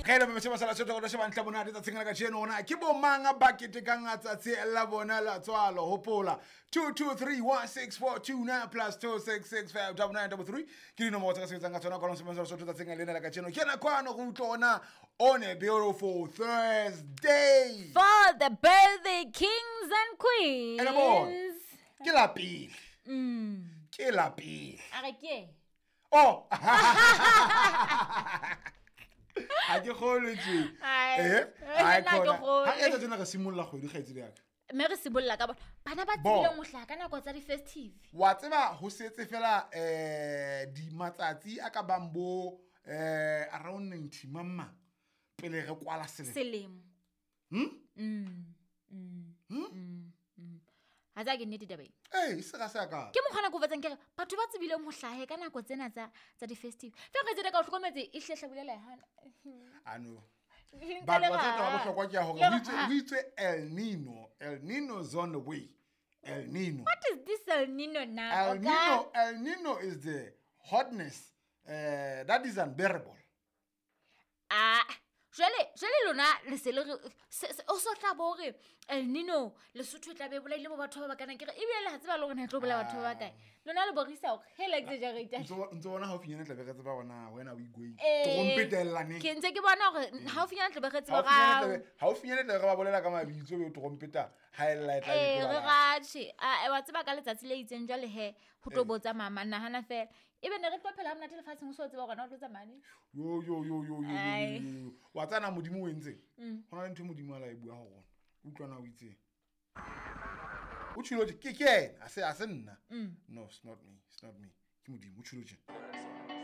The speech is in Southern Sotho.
Ge le bametse basala sotho go sheba ntle bona tsatsing la kajeno ona ke bo mang ba ketekang tsatsi la bona la tswalo. Hopola 2231649 plus 2665933 ke dinomoro tse ka sebetsang ka tsona kwa sebeng sa Sotho tsatsing lena la kajeno. Ke nako ano go utlwa ona on a beautiful Thursday For the birthday kings and queens. Ene bona, ke la pele. Ke la pele. A re ke. Oh. Ha ke kgolwe tje. Ai. Eh? Ai, Ai, nna ke khona. kgolwe. Ha re etsa tjena re simolla kgwedi kgaitsedi ya ka. Mme re sibolla ka bona. Bana ba Bo. tsebileng ho hlaha ka nako tsa di-festive. Wa tseba ho setse fela di matsatsi a ka bang bo around 90 mamma pele re kwala selemo. Selemo. Ha tsa ke nnete taba ena. Eh, se ga se a ka. Ke mokgwa nako o fetsang ke re batho ba tsebileng ho hlahe ka nako tsena tsa di-festive. Fela re tsebe ka o hlokometse e hle hlabulela e hana. Ano. Nka Ba le ba tsa ra. bohlokwa ke ya hore Le ho itswe ra. ho itswe El Nino, El Nino is on the way. El Nino. What is this El Nino now? El Nino, El Nino is the hotness that is unbearable. Ah, jwale lona le se le re o so tla bo hore El Nino Lesotho e tla be e bolaile bo batho ba ba kana ke re ebile le ha tseba le hore na e tlo bolaya batho ba bakae. Lona le borisa hore hela exaggerate. Ntse bona haufinyana tla be re tseba hore na wena o igoing. Eh, Trompetellaneng. Ke ntse ke bona hore haufinyana tla be re tseba ga Haufinyana tla be re ba bolela ka mabitso be trompeta ha e lla e tla be Eh, e tlo re ba la. ratjhe. Ah, wa tseba ka letsatsi le itseng jwale he ho tlo botsa mama nahana fela. Ebe ne re tlo phela ha monate lefatsheng o so tseba hore na o tlo tsamaya neng. Yo yo yo yo yo, yo, Ai. yo, yo. Wa tsana Modimo o entseng? Ho na le ntho e Modimo a la e bua ho rona. Utlwa na o itseng. O tjhilo tje, ke ena, ha se nna. No, it's not me, it's not me. Ke Modimo, o tjhilo tje.